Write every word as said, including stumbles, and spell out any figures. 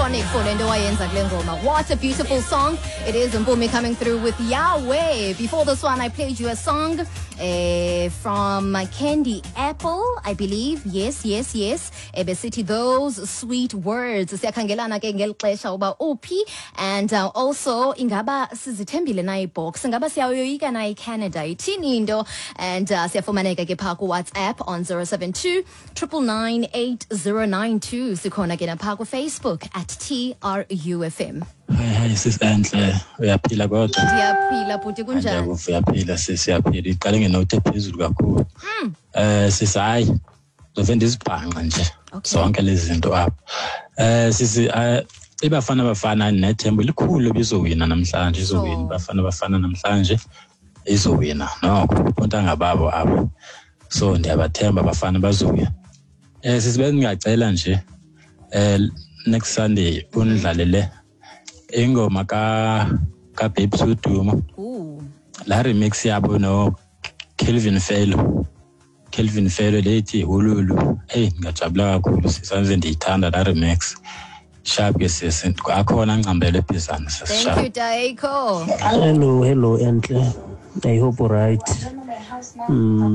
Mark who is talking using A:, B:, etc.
A: iconic for le nto wayenza kule ngoma. What a beautiful song it is. Mpumi coming through with Yahweh. Before this one, I played you a song uh, from Candy Apple, I believe. Yes, yes, yes. Ebesithi "Those Sweet Words". Siyakhangelana ke ngeli xesha uba uphi, and uh, also ingaba sizithembile na iBoks, ingaba siyayoyika na iCanada, ithini into? And uh, siyafumaneka ke phaa kuWhatsApp on zero seven two nine nine nine eight zero nine two. Sikhona ke naphaa kuFacebook at T R U F M.
B: Hayi hayi, sisi enhle, uyaphila kodwa?
A: Ndiyaphila bhuti, kunjani?
B: Ndiyakuva, uyaphila sisi, uyaphila. Iqale ngenothi ephezulu kakhulu. Eh sisi, hayi, ndove ndizibhanqa nje
A: Okay.
B: zonke lezi zinto apha. Eh sisi, eh iBafana Bafana nethemba elikhulu bizowina namhlanje, izowina.
A: Sure.
B: Bafana Bafana namhlanje izowina. Nokho bontanga babo abo. So ndiyabathemba abafana, bazowina. Eh sisi, bendingacela nje eh next Sunday undlalele ingoma ka ka Babes Wodumo,
A: Ooh.
B: la remix yabo no Kelvin Fellow, Kelvin Fellow lethi "Hululu". Hey, ngiyajabula kakhulu sisanze, ndiyithanda la remix. Sharp ke sisi, akhona ngcambele ebhizana sisi.
A: Thank
B: Sharp.
A: you, Daiko.
C: Hello, hello, Enhle. I hope all right. Mm,